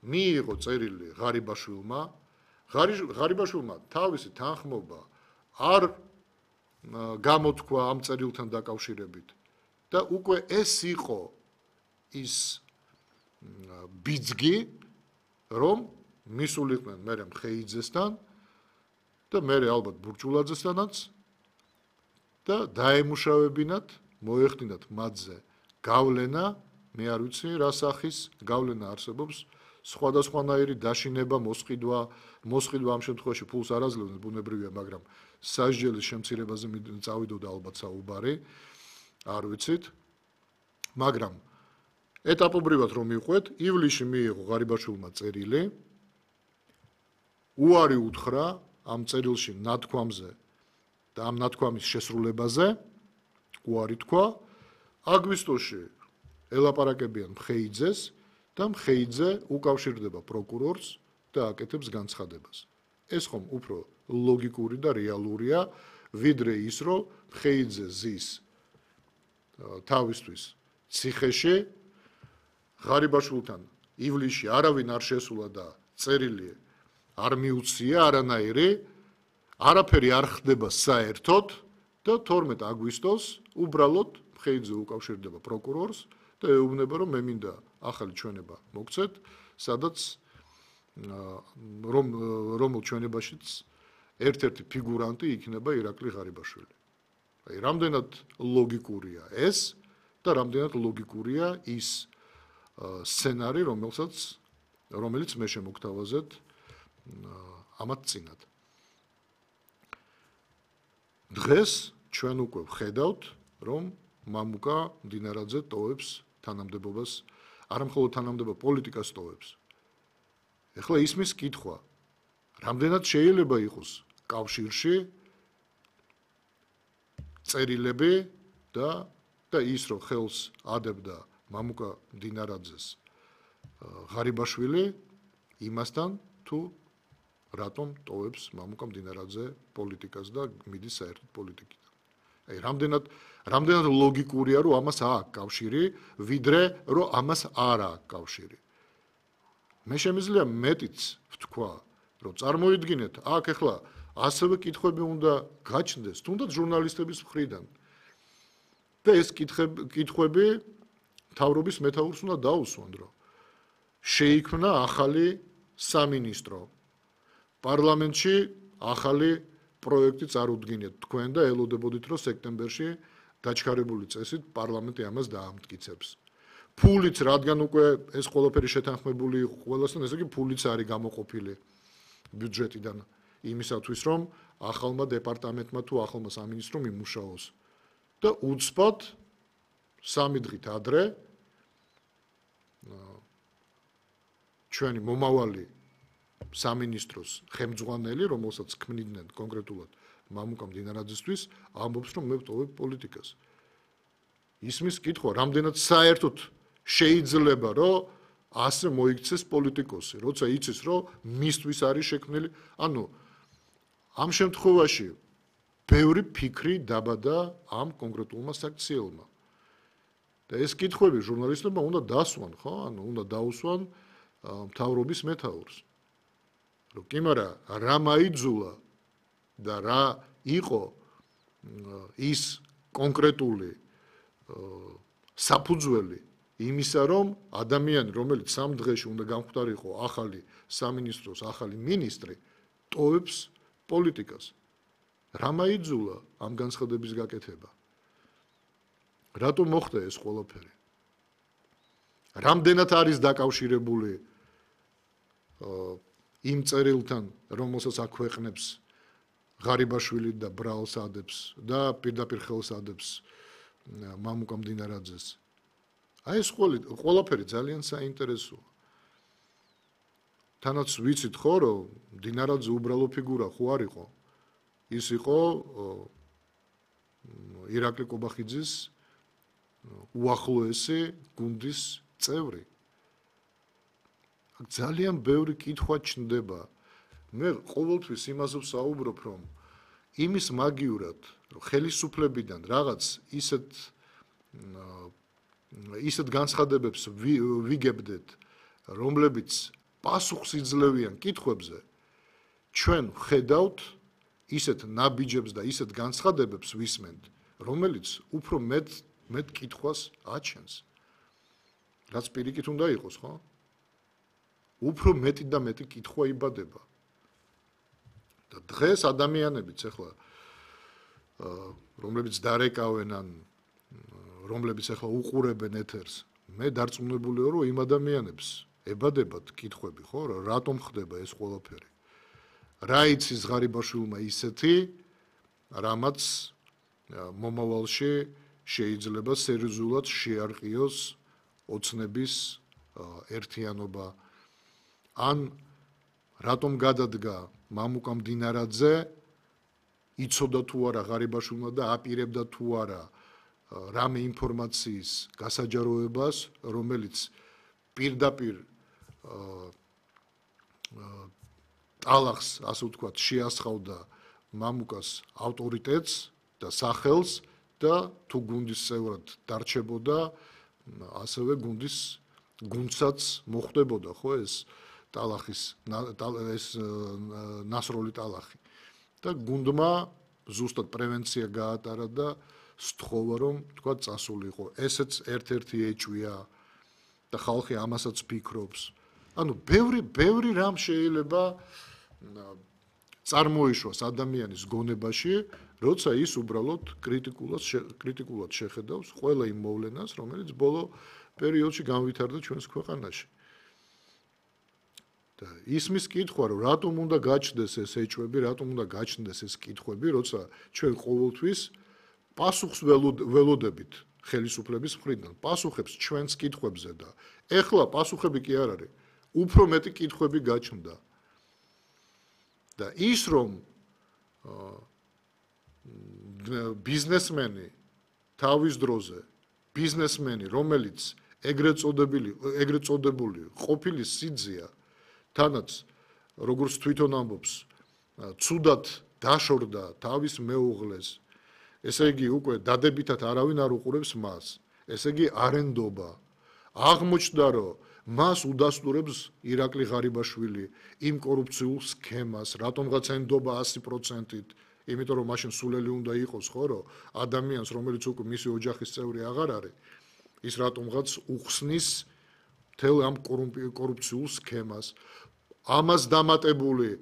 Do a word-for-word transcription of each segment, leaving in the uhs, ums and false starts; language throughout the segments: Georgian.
მიიღო წერილი ღარიბაშვილმა, ღარიბაშვილმა თავისი თანხმობა არ გამოთქვა ამ წერილთან დაკავშირებით და უკვე ეს იყო ის ბიძგი, რომ მისულიყვნენ მერე მხეიძესთან და მერე ალბათ ბურჭულაძესთანაც და დაემუშავებინათ, მოეხდინათ მათზე გავლენა, მე არ ვიცი რა სახის გავლენა არსებობს, სხვადასხვანაირი დაშინება, მოსყიდვა, მოსყიდვა ამ შემთხვევაში ფულს არ აძლევდნენ, ბუნებრივია, მაგრამ სასჯელის შემცირებაზე წავიდოდა ალბათ საუბარი, არ ვიცით, მაგრამ ეტაპობრივად რომ მიყვეთ, ივლისში მიიღო ღარიბაშვილმა წერილი, უარი უთხრა ამ წერილში ნათქვამზე და ამ ნათქვამის შესრულებაზე, უარი თქვა, აგვისტოში ელაპარაკებიან მხეიძეს და მხეიძე უკავშირდება პროკურორს და აკეთებს განცხადებას. ეს ხომ უფრო ლოგიკური და რეალურია, ვიდრე ის, რომ მხეიძე ზის თავისთვის ციხეში, ღარიბაშვილთან ივლისში არავინ არ შესულა და წერილი არ მიუცია არანაირი, არაფერი არ ხდება საერთოდ და თორმეტ აგვისტოს უბრალოდ მხეიძე უკავშირდება პროკურორს და ეუბნება, რომ მე მინდა ახალი ჩვენება მოგცეთ, სადაც რომ რომელ ჩვენებაშიც ერთ-ერთი ფიგურანტი იქნება ირაკლი ღარიბაშვილი. აი, რამდენად ლოგიკურია ეს და რამდენად ლოგიკურია ის სცენარი, რომელსაც რომელიც მე შემოგთავაზეთ ამათ წინათ. დღეს ჩვენ უკვე ვხედავთ, რომ მამუკა მდინარაძე ტოვებს თანამდებობას, არამხოლოდ თანამდებობა პოლიტიკას ტოვებს. ეხლა ისმის კითხვა, რამდენად შეიძლება იყოს კავშირში წერილები და და ის რომ ხელს ადებდა მამუკა მდინარაძეს ღარიბაშვილი იმასთან თუ რატომ ტოვებს მამუკა მდინარაძე პოლიტიკას და მიდის საერთოდ პოლიტიკიდან. აი, რამდენად რამდენად ლოგიკურია, რომ ამას აქვს კავშირი, ვიდრე რომ ამას არ აქვს კავშირი. მე შემიძლია მეტიც ვთქვა, რომ წარმოიდგინეთ, აქ ახლა ასევე კითხვები უნდა გაჩნდეს, თუნდაც ჟურნალისტების მხრიდან. და ეს კითხვები მთავრობის მეთაურს უნდა დაუსვან, რომ შეიქმნა ახალი სამინისტრო. პარლამენტში ახალი პროექტი წარუდგინეთ თქვენ და ელოდებოდით, რომ სექტემბერში დაჩქარებული წესით პარლამენტი ამას დაამტკიცებს. ფულიც, რადგან უკვე ეს ყველაფერი შეთანხმებული იყო ყველასთან, ესე იგი ფულიც არის გამოყოფილი ბიუჯეტიდან იმისათვის, რომ ახალმა დეპარტამენტმა თუ ახალმა სამინისტრომ იმუშაოს. და უცბად სამი დღით ადრე ჩვენი მომავალი სამინისტროს ხელმძღვანელი, რომელსაც ქმნიდნენ კონკრეტულად მამუკა მდინარაძესთვის, ამბობს, რომ მე ვტოვებ პოლიტიკას. ისმის კითხვა, რამდენად საერთოდ შეიძლება, რომ ასე მოიქცეს პოლიტიკოსი, როცა იცის, რომ მისთვის არის შექმნილი, ანუ ამ შემთხვევაში ბევრი ფიქრი დაბადა ამ კონკრეტულმა საქციელმა. და ეს კითხვები ჟურნალისტებმა უნდა დასვან, ხო? ანუ უნდა დაუსვან მთავრობის მეთაურს. რომ კი მარა რა მაიძულა და რა იყო ის კონკრეტული საფუძველი იმისა, რომ ადამიანი, რომელიც სამ დღეში უნდა გამختارიყო ახალი სამინისტროს ახალი მინისტრი, ტოვებს პოლიტიკას. რა მაიძულა ამ განცხადების გაკეთება? რატომ მოხდა ეს ყველაფერი? რამდენად არის დაკავშირებული იმ წერილთან, რომელსაც აქვეყნებს ღარიბაშვილი და ბრალს ადებს და პირდაპირ ხელს ადებს მამუკა მდინარაძეს. აი ეს ყველაფერი ძალიან საინტერესოა. თანაც ვიცით ხო, რომ მდინარაძე უბრალო ფიგურა ხო არ იყო. ის იყო ირაკლი კობახიძის უახლოესი გუნდის წევრი. ძალიან ბევრი კითხვა ჩნდება. მე ყოველთვის იმაზე ვსაუბრობ, რომ იმის მაგიურად, რომ ხელისუფლებიდან რაღაც ისეთ ისეთ განცხადებებს ვიგებდეთ, რომლებიც პასუხსიძლევიან კითხვებზე ჩვენ ხედავთ ისეთ ნაბიჯებს და ისეთ განცხადებებს ვისმენთ, რომელიც უფრო მეტ მეტ კითხვას აჩენს. რაც პირიქით უნდა იყოს, ხო? უფრო მეტი და მეტი კითხვა იბადება. და დღეს ადამიანებიც ახლა რომლებიც დარეკავენ ან რომლებიც ახლა უყურებენ ეთერს, მე დარწმუნებული ვარ, რომ იმ ადამიანებს ებადებათ კითხვები, ხო, რატომ ხდება ეს ყველაფერი? რა იცის ღარიბაშვილმა ისეთი, რამაც მომავალში შეიძლება სერიოზულად შეარყიოს ოცნების ერთიანობა, ან რატომ გადადგა მამუკა მდინარაძე, იცოდა თუ არა ღარიბაშვილმა და აპირებდა თუ არა რამე ინფორმაციის გასაჯაროებას, რომელიც პირდაპირ ტალახს, ასე ვთქვათ, შეასხავდა მამუკას ავტორიტეტს და სახელს და თუ გუნდის წევრად დარჩებოდა, ასევე გუნდის გუნდსაც მოხვდებოდა, ხო, ეს ტალახის ეს ნასროლი ტალახი. და გუნდმა ზუსტად პრევენცია გაატარა და სთხოვა, რომ თქვა წასულიყო. ესეც ერთ-ერთი ეჭვია და ხალხი ამასაც ფიქრობს. ანუ ბევრი ბევრი რამ შეიძლება წარმოიშვას ადამიანის გონებაში, როცა ის უბრალოდ კრიტიკულად კრიტიკულად შეხედავს ყველა იმ მოვლენას, რომელიც ბოლო პერიოდში განვითარდა ჩვენს ქვეყანაში. და ისმის კითხვა, რომ რატომ უნდა გაჩნდეს ეს ეჭვები, რატომ უნდა გაჩნდეს ეს კითხვები, როცა ჩვენ ყოველთვის პასუხს ველოდებით ხელისუფლების მხრიდან, პასუხებს ჩვენს კითხვებზე და ეხლა პასუხები კი არ არის, უფრო მეტი კითხვები გაჩნდა. და ის რომ ბიზნესმენი თავის დროზე, ბიზნესმენი, რომელიც ეგრეთ წოდებული, ეგრეთ წოდებული ყოფილი სიძია, თანაც როგორც თვითონ ამბობს, ცუდად დაშორდა თავის მეუღლეს, ესე იგი უკვე დადებითად არავინ არ უყურებს მას, ესე იგი არენდობა. აღმოჩნდა, რომ მას უდასტურებს ირაკლი ღარიბაშვილი იმ კორუფციულ სქემას, რატომღაც ენდობა ასი პროცენტით, იმიტომ რომ მაშინ სულელი უნდა იყოს, ხო, რომ ადამიანს, რომელიც უკვე მისი ოჯახის წევრი აღარ არის, ის რატომღაც უხსნის მთელ ამ კორუფციულ სქემას. ამას დამატებული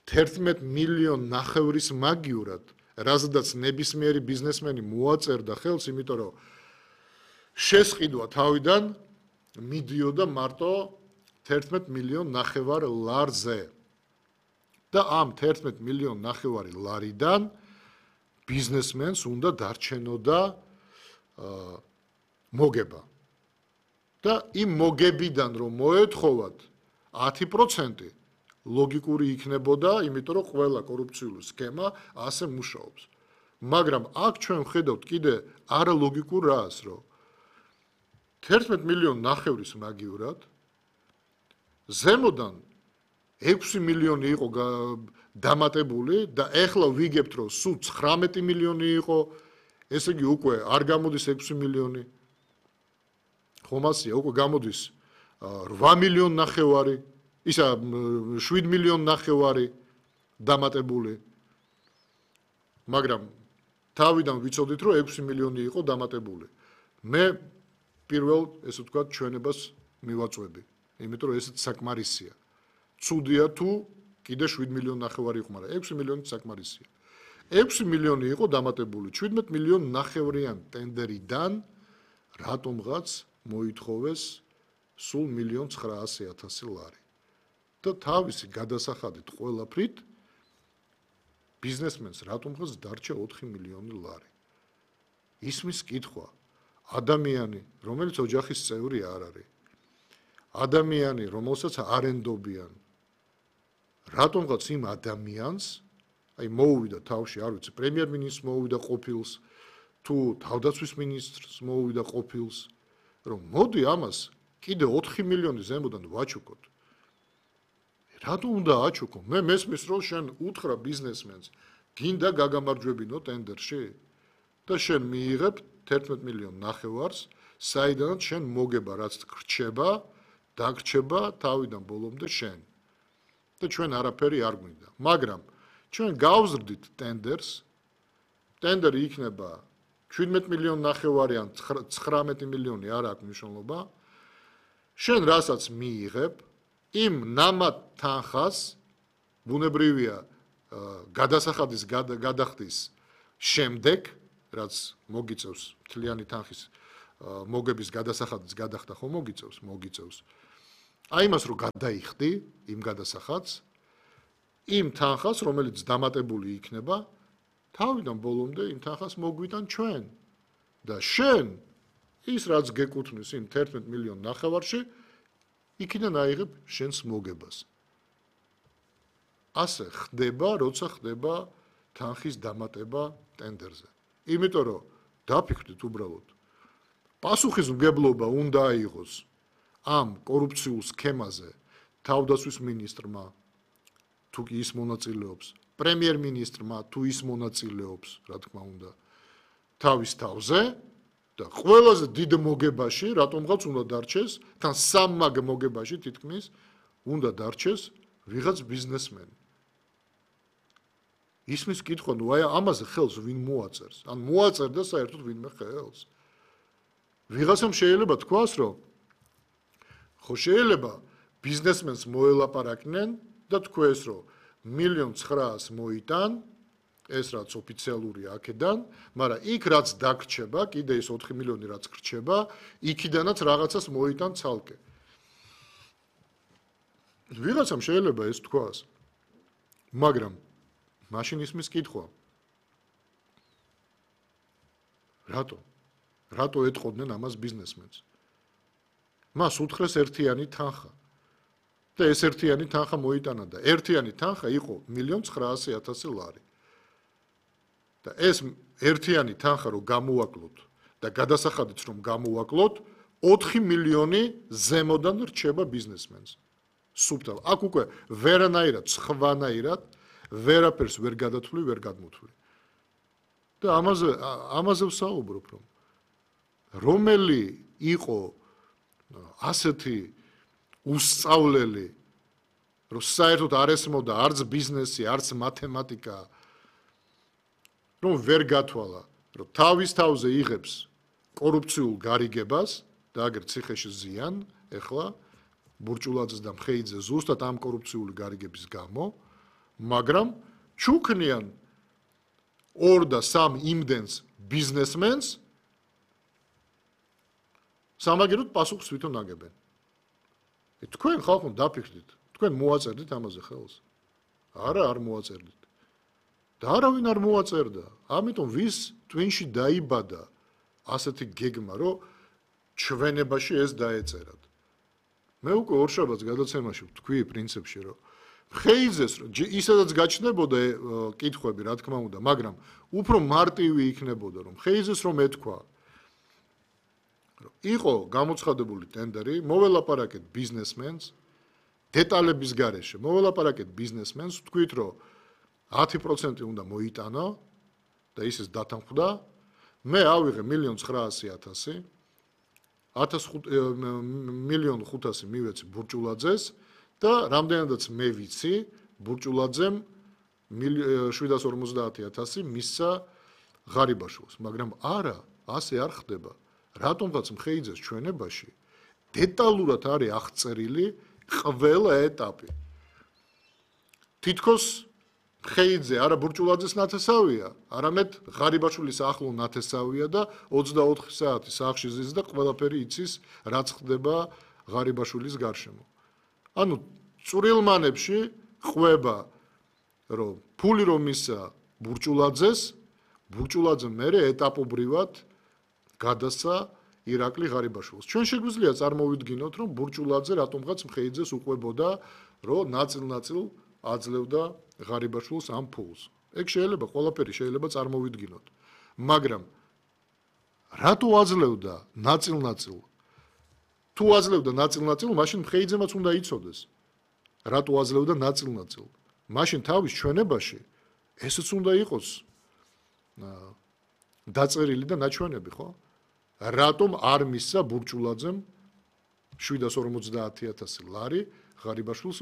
თერთმეტ მილიონ ნახევრის მაგივრად, რაზედაც ნებისმიერი ბიზნესმენი მოაწერდა ხელს, იმიტომ რომ შესყიდვა თავიდან მიდიოდა მარტო თერთმეტ მილიონ ნახევარ ლარზე. და ამ თერთმეტ მილიონ ნახევარი ლარიდან ბიზნესმენს უნდა დარჩენოდა მოგება. და იმ მოგებიდან რომ მოეთხოვათ ათი პროცენტი ლოგიკური იქნებოდა, იმიტომ რომ ყველა კორუფციული სქემა ასე მუშაობს. მაგრამ აქ ჩვენ ვხედავთ კიდე არალოგიკურ რას, რომ თერთმეტ მილიონ ნახევრის მაგივრად ზემოდან ექვსი მილიონი იყო დამატებული და ეხლა ვიგებთ, რომ სულ ცხრამეტი მილიონი იყო, ესე იგი უკვე არ გამოდის ექვსი მილიონი. ხომ ასეა, უკვე გამოდის რვა მილიონ ნახევარი, ისა შვიდ მილიონ ნახევარი დამატებული. მაგრამ თავიდან ვიცოდით, რომ ექვსი მილიონი იყო დამატებული. მე პირველ, ესე ვთქვათ, ჩვენებას მივაწვევი, იმიტომ რომ ესეც საკმარისია. ცუდია თუ კიდე შვიდ მილიონ ნახევარი იყო, მაგრამ ექვსი მილიონი საკმარისია. ექვსი მილიონი იყო დამატებული, შვიდმეტ მილიონ ნახევრიან ტენდერიდან რატომღაც მოითხოვეს სულ მილიონ ცხრაასი ათასი ლარი. და თავისი გადასახადით ყველაფრით ბიზნესმენს რატომღაც დარჩა ოთხი მილიონი ლარი. ისმის კითხვა, ადამიანი, რომელიც ოჯახის წევრი არ არის, ადამიანი, რომელსაც არენდობიან, რატომღაც იმ ადამიანს, აი მოუვიდა თავში, არ ვიცი, პრემიერ-მინისტრს მოუვიდა ყოფილს, თუ თავდაცვის მინისტრს მოუვიდა ყოფილს, რომ მოდი ამას კიდე ოთხი მილიონი ზემოდან ვაჩუქოთ. რატო უნდა აჩუქო? მე მესმის, რომ შენ უთხრა ბიზნესმენს, გინდა გაგამარჯვებინო ტენდერში და შენ მიიღებ თერთმეტ მილიონ ნახევარს, საიდანაც შენ მოგება რაც რჩება, დაგრჩება თავიდან ბოლომდე შენ. და ჩვენ არაფერი არ გვინდა. მაგრამ ჩვენ გავზრდით ტენდერს. ტენდერი იქნება შვიდმეტი მილიონი ნახევარი ან ცხრამეტი მილიონი არ აქვს მნიშვნელობა. შენ რასაც მიიღებ, იმ ნამად თანხას ბუნებრივია გადასახადის გადახდის შემდეგ, რაც მოგიწევს მთლიანი თანხის მოგების გადასახადის გადახდა ხო მოგიწევს, მოგიწევს. აი იმას რომ გადაიხდი იმ გადასახადს, იმ თანხას, რომელიც დამატებული იქნება, თავიდან ბოლომდე იმ თანხას მოგვიტან ჩვენ. და შენ ის რაც გეკუთვნის იმ თერთმეტ მილიონ ნახევარში, იქიდან აიღებ შენს მოგებას. ასე ხდება, როცა ხდება თანხის დამატება ტენდერზე. იმიტომ რომ დაფიქრდით უბრალოდ პასუხისმგებლობა უნდა აიღოს ამ კორუფციულ სქემაზე თავდაცვის მინისტრმა, თუ კი ის მონაწილეობს, პრემიერ-მინისტრმა, თუ ის მონაწილეობს, რა თქმა უნდა, თავის თავზე და ყველაზე დიდ მოგებაში, რატომღაც უნდა დარჩეს, თან სამმაგ მოგებაში თითქმის უნდა დარჩეს ვიღაც ბიზნესმენი. ისმის კითხვა, ნუ აი ამაზე ხელს ვინ მოაწერს? ან მოაწერდა საერთოდ ვინმე ხელს? ვიღაცამ შეიძლება თქვას, რომ ხო შეიძლება ბიზნესმენს მოელაპარაკნენ და თქვეს, რომ მილიონ ცხრაას მოიტან, ეს რაც ოფიციალურია აქედან, მაგრამ იქ რაც დაგრჩება, კიდე ის ოთხი მილიონი რაც გრჩება, იქიდანაც რაღაცას მოიტან ცალკე. ვიღაცამ შეიძლება ეს თქვას. მაგრამ მაშინ ისმის კითხვა. რატო? რატო ეთყოდნენ ამას ბიზნესმენს? მას უთხრეს ერთიანი თანხა. და ეს ერთიანი თანხა მოიტანა და ერთიანი თანხა იყო მილიონ ცხრაასი ათასი ლარი. და ეს ერთიანი თანხა რომ გამოვაკლოთ და გადასახადიც რომ გამოვაკლოთ, ოთხი მილიონი ზემოდან რჩება ბიზნესმენს. სუბტალ. აქ უკვე ვერანაირად, სხვანაირად ვერაფერს ვერ გადათვლი, ვერ გადმოთვლი. და ამაზე ამაზე ვსაუბრობ, რომ რომელი იყო ასეთი უსწავლელი, რომ საერთოდ არ ესმოდა არც ბიზნესი, არც მათემატიკა, რომ ვერ გათვალა, რომ თავის თავზე იღებს კორუფციულ გარიგებას და აგერ ციხეში ზიან, ეხლა ბურჭულაძეს და მხეიძეს ზუსტად ამ კორუფციული გარიგების გამო, მაგრამ ჩუქნიან ორ და სამ იმდენს ბიზნესმენს სამაგეროდ პასუხს თვითონ აგებენ. თქვენ ხალხო დაფიქრდით, თქვენ მოაწერდით ამაზე ხელს? არა, არ მოაწერდით. და არავინ არ მოაწერდა. ამიტომ ვის ტვინში დაიბადა ასეთი გეგმა, რომ ჩვენებაში ეს დაეწერათ. მე უკვე ორშაბათს გადაცემაში ვთქვი პრინციპში, რომ მხეიძეს ისედაც გაჩნდებოდა კითხვები, რა თქმა უნდა, მაგრამ უფრო მარტივი იქნებოდა, რომ მხეიძეს რომ ეთქვა, იყო გამოცხადებული ტენდერი, მოველაპარაკეთ ბიზნესმენს, დეტალების გარეშე, მოველაპარაკეთ ბიზნესმენს, ვთქვით, რომ ათი პროცენტი უნდა მოიტანო და ისეს დათანხმდა, მე ავიღე მილიონ ცხრაასი ათასი, მილიონ ხუთასი მივეცი ბურჭულაძეს და რამდენადაც მე ვიცი, ბურჭულაძემ შვიდას ორმოცდაათი ათასი მისცა ღარიბაშვილს, მაგრამ არა, ასე არ ხდება. რატომღაც მხეიძეს ჩვენებაში დეტალურად არის აღწერილი ყველა ეტაპი. თითქოს მხეიძე არა ბურჭულაძეს ნათესავია, არამედ ღარიბაშვილის ახლო ნათესავია და ოცდაოთხი საათი სახლში ზის და ყველაფერი იცის, რაც ხდება ღარიბაშვილის გარშემო. ანუ წვრილმანებში ყვება, რომ ფული რომ მისცა ბურჭულაძეს, ბურჭულაძე მერე ეტაპობრივად გადასცა ირაკლი ღარიბაშვილს. ჩვენ შეგვიძლია წარმოვიდგინოთ, რომ ბურჭულაძე რატომღაც მხეიძეს უყვებოდა, რომ ნაწილ-ნაწილ აძლევდა ღარიბაშვილს ამ ფულს. ეგ შეიძლება ყველაფერი შეიძლება წარმოვიდგინოთ. მაგრამ რატო აძლევდა ნაწილ-ნაწილ? თუ აძლევდა ნაწილ-ნაწილ, მაშინ მხეიძემაც უნდა იცოდეს. რატო აძლევდა ნაწილ-ნაწილ? მაშინ თავის ჩვენებაში ესეც უნდა იყოს დაწერილი და ნაჩვენები, ხო? რატომ არ მისცა ბურჭულაძემ შვიდას ორმოცდაათი ათასი ლარი ღარიბაშვილს